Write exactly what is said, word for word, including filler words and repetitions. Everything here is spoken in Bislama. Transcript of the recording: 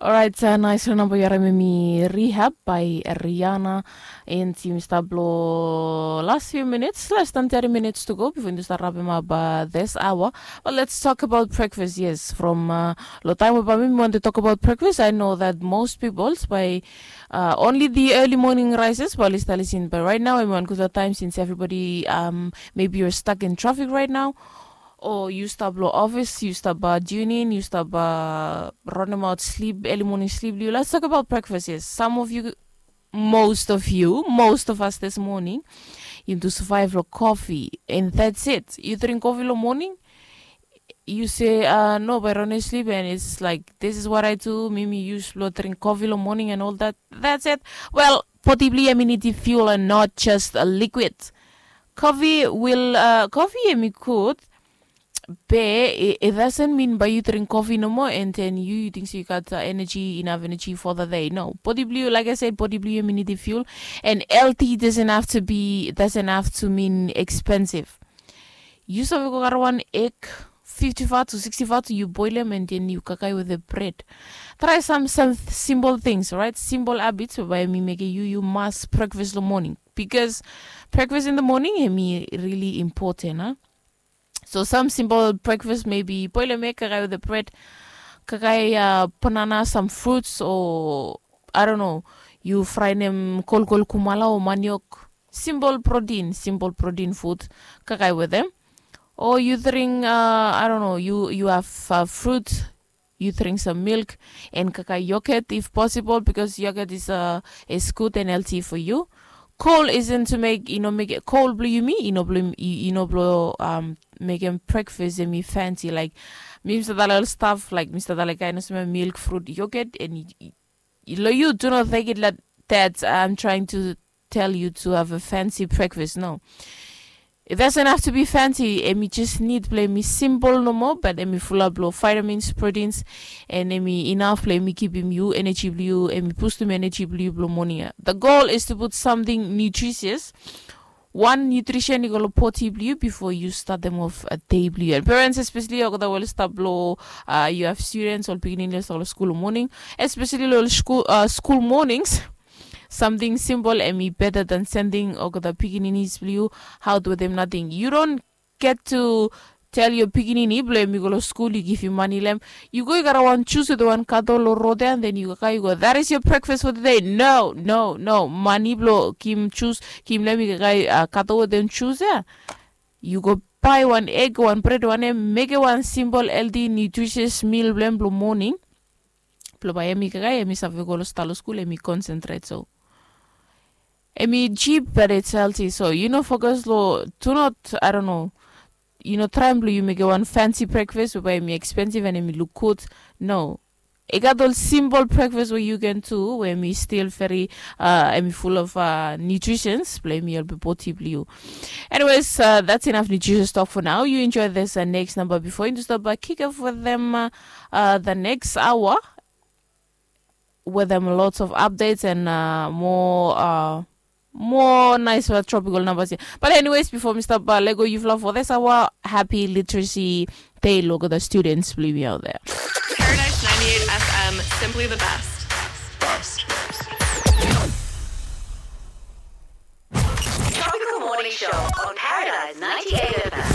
Orait, nais long namba yu harim em i Rehab by Rihanna. And yumi stap long last few minutes, less than thirty minutes to go before yumi start wrapping up uh, this hour. But let's talk about breakfast. Yes, from uh, long time about me, want to talk about breakfast. I know that most people by uh, only the early morning rises while it's still in. But right now, I'm on good time since everybody um maybe you're stuck in traffic right now. Or yu stap long office, yu stap uh, tune in, yu stap uh, running out sleep, early morning sleep. Let's talk about breakfast. Yes, some of you, most of you, most of us this morning, yumi tu survive long coffee, and that's it. Yu drink coffee long morning, yu se uh, no, by running sleep, and it's like this is what I do. Mi mi use long drink coffee long morning and all that. That's it. Well, possibly I mean it's fuel and not just a liquid. Coffee will uh, coffee em i good, be it doesn't mean by yu drink coffee no more and then yu yu think so yu got uh, energy, enough energy for the day. No, body blue, like I said, body blue, you need the fuel. And L T doesn't have to be, doesn't have to mean expensive. Yu save go kara one egg, fifty fat to sixty fat, yu boil em and then yu kakai with the bread. Try some some simple things, right? Simple habits by mi make you you must breakfast the morning, because breakfast in the morning em i really important, huh? So some simple breakfast, maybe boil a make kakai with the bread, kakai uh, banana, some fruits, or I don't know, you fry them kolkol kumala or maniok. Simple protein, simple protein food, kakai with them. Or you drink, uh, I don't know, you you have uh, fruit, you drink some milk and kakai yogurt if possible, because yogurt is uh, is good and healthy for you. Coal isn't to make, you know, make it coal blue you me, you know, blue you know, blue um make him breakfast and me fancy like me Mr. Dalal stuff, like Mr. Dalal kind of smell milk, fruit, yogurt, and you, you, you do not take it like that. I'm trying to tell you to have a fancy breakfast. No, it doesn't have to be fancy. Em i just need blong em i simple nomo, but em i fulap long vitamins, proteins, and em i enough blong em i givim yu energy blong yu, em i pustum energy blong yu blong morning. The goal is to put something nutritious, one nutrition i go long body blong yu before you start them off a day blong yu. And parents, especially olgeta we oli stap long uh, you have students ol pikinini oli stap long school morning, especially long school, uh, school mornings. Something simple em i better than sending olgeta pikininis blong yu out with them nothing. You don't get to tell your pikinini blong em i go long skul, yu givim mani long em. Yu go yu gat wan jus with wan kato long rod ya, and then yu kakai yu go, that is your breakfast for the day. No, no, no. Mani blong givim jus, givim long em i kakai uh, kato with them jus ya. Yu go bai wan egg, wan bread, wan em, mekem wan simple healthy nutritious meal blong em blong morning. Blong bai em i kakai em i save go long stalo skul em i concentrate. So em i cheap but it's healthy. So you no focus lo, do not, I don't know, you no try blong yu mekem wan fancy breakfast blong bai em i expensive and em i look good. No, i gat ol simple breakfast we you can do we em i still very uh, em i full of uh, nutritions blong em i help body blong you. Anyways, uh, that's enough nutritious talk for now. You enjoy this uh, next number before you stop by kick off with them uh, uh, the next hour with them lots of updates and uh, more uh, more nice uh, tropical numbers here. But anyways, before Mr. Balego, you've loved for this hour. Happy Literacy Day, look at the students, believe me out there. Paradise ninety-eight F M, simply the best. Tropical Morning Show on Paradise ninety-eight F M.